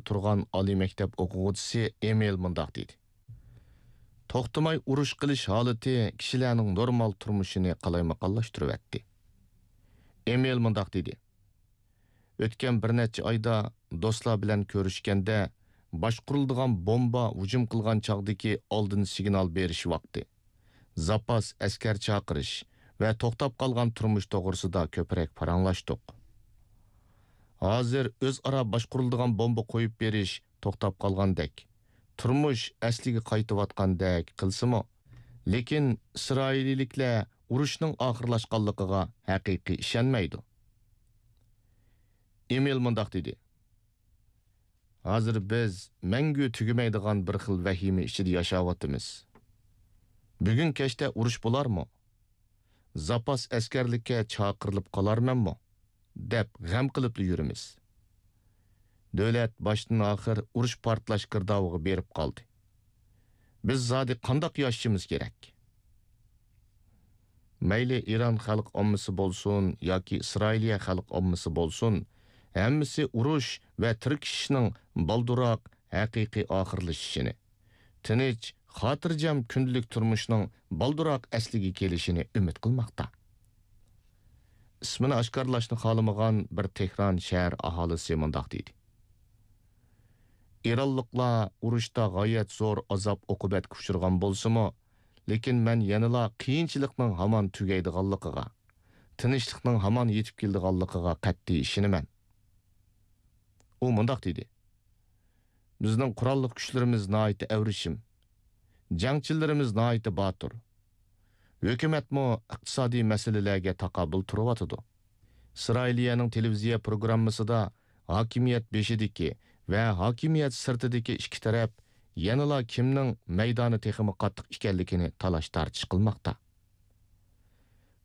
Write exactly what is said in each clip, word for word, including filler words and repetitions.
تۇرغان ئالىي مەكتەپ ئوقۇغۇچىسى ئېمىل مۇنداق دېدى: توختىماي ئۇرۇش قىلىش ھالىتى كىشىلەرنىڭ نورمال تۇرمۇشىنى قالايمىقانلاشتۇرۇۋەتتى. ئېمىل مۇنداق دېدى: ئۆتكەن بىر نەچچە ئايدا دوستلار بىلەن كۆرۈشكەندە، باشقۇرۇلىدىغان بومبا ھۇجۇم قىلغان چاغدىكى ئالدىن سىگنال بېرىش ۋاقتى، زاپاس ئەسكەر چاقىرىش ۋە توختاپ قالغان تۇرمۇش توغرىسىدا كۆپرەك پاراڭلاشتۇق. ھازىر ئۆزئارا باشقۇرۇلىدىغان بومبا قويۇپ بېرىش توختاپ قالغاندەك، تۇرمۇش ئەسلىگە قايتىۋاتقاندەك قىلسىمۇ، لېكىن ئىسرائىلىيلىكلەر ئۇرۇشنىڭ ئاخىرلاشقانلىقىغا ھەقىقىي ئىشەنمەيدۇ. ئېمىل مۇنداق دېدى: ھازىر بىز مەڭگۈ تۈگىمەيدىغان بىر خىل ۋەھىمە ئىچىدە ياشاۋاتىمىز. بۈگۈن كەچتە ئۇرۇش بولارمۇ؟ زاپاس ئەسكەرلىككە چاقىرىلىپ قالارمەنمۇ؟ دەپ غەم قىلىپلا يۈرىمىز. دۆلەت باشتىن ئاخىر ئۇرۇش پارتلاش گىردابىغا بېرىپ قالدى. بىز زادى قانداق ياشىشىمىز كېرەك؟ مەيلى ئىران خەلق ئاممىسى بولسۇن ياكى ئىسرائىلىيە خەلق ئاممىسى بولسۇن، ھەممىسى ئۇرۇش ۋە تىركىشىشنىڭ بالدۇرراق ھەقىقىي ئاخىرلىشىشىنى، تىنچ، خاتىرجەم كۈندىلىك تۇرمۇشنىڭ بالدۇرراق ئەسلىگە كېلىشىنى ئۈمىد قىلماقتا. ئىسمىنى ئاشكارىلاشنى خالىمىغان بىر تېھران شەھەر ئاھالىسى مۇنداق دېدى: ئىرانلىقلار ئۇرۇشتا غايەت زور ئازاب-ئوقۇبەتكە ئۇچرىغان بولسىمۇ، لېكىن مەن يەنىلا قىيىنچىلىقنىڭ ھامان تۈگەيدىغانلىقىغا، تىنچلىقنىڭ ھامان يېتىپ كېلىدىغانلىقىغا قەتئىي ئىشىنىمەن. ئۇ مۇنداق دېدى: بىزنىڭ قوراللىق كۈچلىرىمىز ناھايىتى ئەۋرىشىم، جەڭچىلىرىمىز ناھايىتى باتۇر. ھۆكۈمەتمۇ ئىقتىسادىي مەسىلىلەرگە تاقابىل تۇرۇۋاتىدۇ. ئىسرائىلىيەنىڭ تېلېۋىزىيە پروگراممىسىدا ھاكىمىيەت بېشىدىكى ۋە ھاكىمىيەت سىرتىدىكى ئىككى تەرەپ يەنىلا كىمنىڭ مەيدانى تېخىمۇ قاتتىق ئىكەنلىكىنى تالاش-تارتىش قىلماقتا.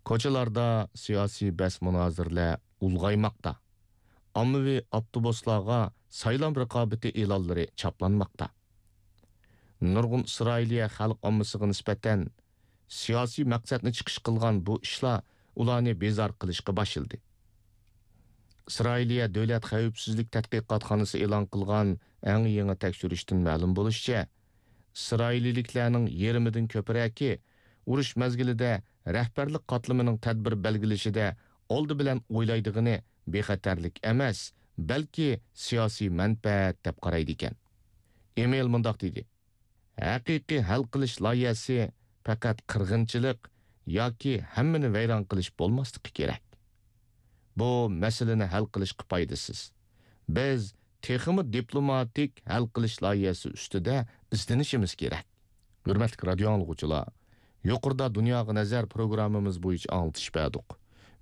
كوچىلاردا سىياسىي بەس-مۇنازىرىلەر ئۇلغايماقتا. ئاممىۋى ئاپتوبۇسلارغا سايلام رىقابىتى ئېلانلىرى چاپلانماقتا. نۇرغۇن ئىسرائىلىيە خەلق ئاممىسىغا نىسبەتەن سىياسىي مەقسەتنى چىقىش قىلغان بۇ ئىشلار ئۇلارنى بىزار قىلىشقا باشلىدى. ئىسرائىلىيە دۆلەت خەۋپسىزلىك تەتقىقاتخانىسى ئېلان قىلغان ئەڭ يېڭى تەكشۈرۈشتىن مەلۇم بولۇشىچە، ئىسرائىلىيلىكلەرنىڭ يېرىمىدىن كۆپرەكى ئۇرۇش مەزگىلىدە رەھبەرلىك قاتلىمىنىڭ تەدبىر بەلگىلىشىدە ئالدى بىلەن ئويلايدىغىنى بىخەتەرلىك ئەمەس، بەلكى سىياسىي مەنپەئەت دەپ قارايدىكەن. ئېمىل مۇنداق دېدى: ھەقىقىي ھەل قىلىش لايىھەسى پەقەت قىرغىنچىلىق ياكى ھەممىنى ۋەيران قىلىش بولماسلىقى كېرەك. بۇ مەسىلىنى ھەل قىلىشقا پايدىسىز. بىز تېخىمۇ دىپلوماتىك ھەل قىلىش لايىھەسى ئۈستىدە ئىزدىنىشىمىز كېرەك. ھۆرمەتلىك رادىئو ئاڭلىغۇچىلار، يۇقىرىدا دۇنياغا نەزەر پروگراممىمىز بويىچە ئاڭلىتىش بەردۇق.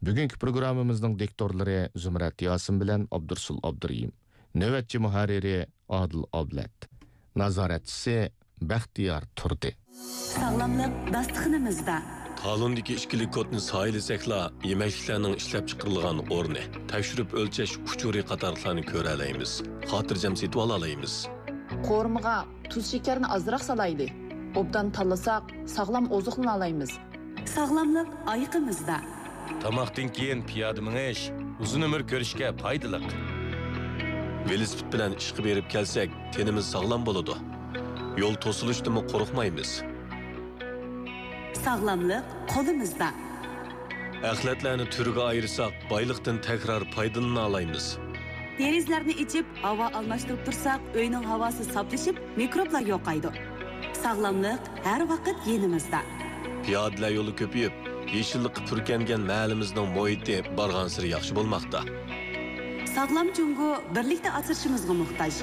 بۈگۈنكى پروگراممىمىزنىڭ دىكتورلىرى زۇمرەت ياسىن بىلەن ئابدۇرسۇل ئابدۇرېھىم. نۆۋەتچى مۇھەررىرى ئادىل ئابلەت. نازارەتچىسى بەختىيار تۇردى. ساغلاملىق داستىخىنىمىزدا. تالوندىكى ئىككىلىك كودنى سايىلىسەكلا، يېمەكلىكلەرنىڭ ئىشلەپچىقىرىلغان ئورنى، تەكشۈرۈپ ئۆلچەش ئۇچۇرى قاتارلىقلارنى كۆرەلەيمىز. خاتىرجەم سېتىۋالالايمىز. قورۇمىغا تۇز شېكەرنى ئازراق سالايلى. ئوبدان تاللىساق، ساغلام ئوزۇقلىنالايمىز. ساغلاملىق ئايىقىمىزدا. تاماقتىن كېيىن پىيادە مېڭىش ئۇزۇن ئۆمۈر كۆرۈشكە پايدىلىق. ۋېلىسىپىت بىلەن ئىشقا بېرىپ كەلسەك، تېنىمىز ساغلام بولىدۇ. يول توسۇلۇشتىنمۇ قورقمايمىز. ساغلاملىق قولىمىزدا. ئەخلەتلەرنى تۈرگە ئايرىساق، بايلىقتىن تەكرار پايدىلىنالايمىز. دېرىزىلەرنى ئېچىپ، ھاۋا ئالماشتۇرۇپ تۇرساق، ئۆينىڭ ھاۋاسى ساپلىشىپ، مىكروبلار يوقايدۇ. ساغلاملىق ھەر ۋاقىت يېنىمىزدا. پىيادىلەر يولى كۆپىيىپ، يېشىللىققا پۈركەنگەن مەھەللىمىزنىڭ مۇھىتى بارغانسېرى ياخشى بولماقتا. ساغلام جۇڭگو بىرلىكتە ئاسرىشىمىزغا موھتاج.